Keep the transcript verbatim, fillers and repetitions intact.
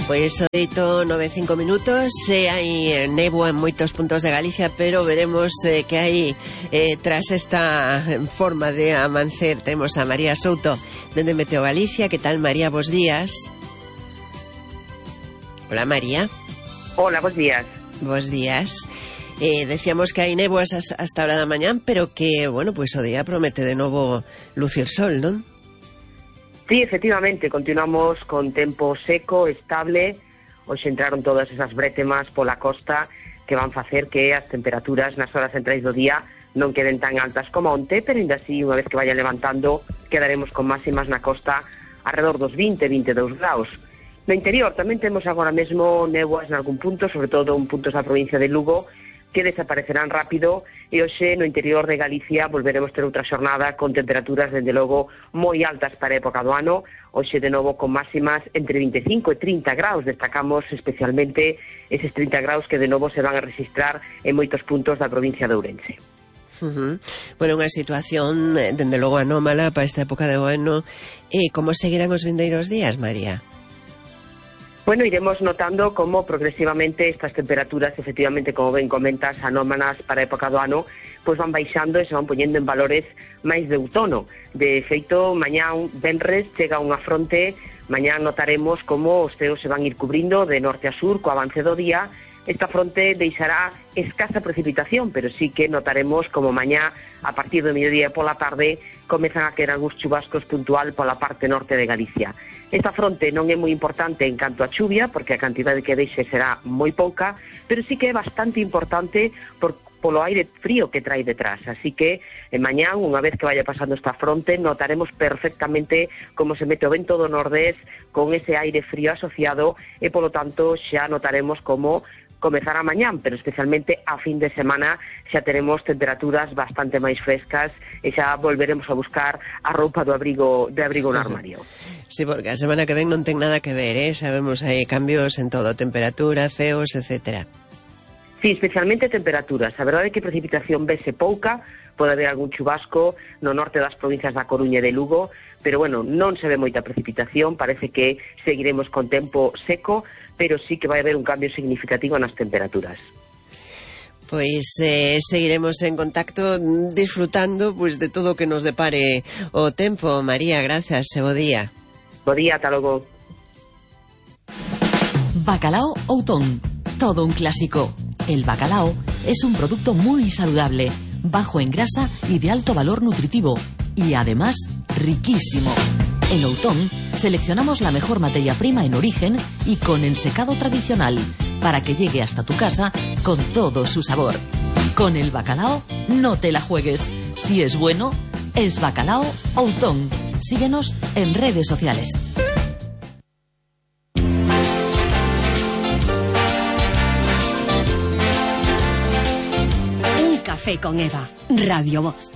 Pois o deito nove e cinco minutos, eh, hai néboa en moitos puntos de Galicia, pero veremos eh, que hai eh, tras esta forma de amancer. Temos a María Souto dende Meteo Galicia. Que tal, María? Bos días. Hola, María. Hola, bos días. Bos días. Eh, decíamos que hai néboas hasta a hora da mañán, pero que, bueno, pois pues, o día promete de novo lucir sol, non? Sí, efectivamente, continuamos con tempo seco, estable. Hoxe entraron todas esas brétemas pola costa que van facer que as temperaturas nas horas centrais do día non queden tan altas como onte, pero ainda así, unha vez que vaya levantando, quedaremos con máximas na costa alrededor dos vinte, vinte e dous graus. No interior tamén temos agora mesmo néboas en algún punto, sobre todo en puntos da provincia de Lugo, que desaparecerán rápido, e hoxe no interior de Galicia volveremos ter outra xornada con temperaturas, dende logo, moi altas para a época do ano. Hoxe, de novo, con máximas entre vinte e cinco e trinta graus. Destacamos especialmente eses trinta graus que de novo se van a registrar en moitos puntos da provincia de Ourense. Uh-huh. Bueno, unha situación, dende logo, anómala para esta época de ano. E como seguirán os vindeiros días, María? Bueno, iremos notando como progresivamente estas temperaturas, efectivamente, como ben comentas, anómalas para a época do ano, pois van baixando e se van poñendo en valores máis de outono. De feito, mañán venres chega unha fronte, mañán notaremos como os ceos se van ir cubrindo de norte a sur co avance do día. Esta fronte deixará escasa precipitación, pero sí que notaremos como mañá, a partir do mediodía e pola tarde, comezan a quedar algúns chubascos puntual pola parte norte de Galicia. Esta fronte non é moi importante en canto a chuvia, porque a cantidade que deixe será moi pouca, pero sí que é bastante importante por, polo aire frío que trae detrás. Así que, en mañán, unha vez que vaya pasando esta fronte, notaremos perfectamente como se mete o vento do nordés con ese aire frío asociado e, polo tanto, xa notaremos como comezará mañán, pero especialmente a fin de semana xa teremos temperaturas bastante máis frescas e xa volveremos a buscar a roupa do abrigo de abrigo no armario. Sí, porque a semana que ven non ten nada que ver, eh? Sabemos hai cambios en todo, temperatura, ceos, etcétera. Sí, especialmente temperaturas. A verdade é que precipitación vese pouca, pode haber algún chubasco no norte das provincias da Coruña e de Lugo, pero bueno, non se ve moita precipitación, parece que seguiremos con tempo seco, pero sí que vai haber un cambio significativo nas temperaturas. Pois eh, seguiremos en contacto disfrutando pues, de todo o que nos depare o tempo. María, gracias e bo día. Bo día, ata logo. Bacalao Outón, todo un clásico. El bacalao es un producto muy saludable, bajo en grasa y de alto valor nutritivo, y además riquísimo. En Outón seleccionamos la mejor materia prima en origen y con ensecado tradicional para que llegue hasta tu casa con todo su sabor. Con el bacalao no te la juegues. Si es bueno, es Bacalao Outón. Síguenos en redes sociales. Un café con Eva, Radio Voz.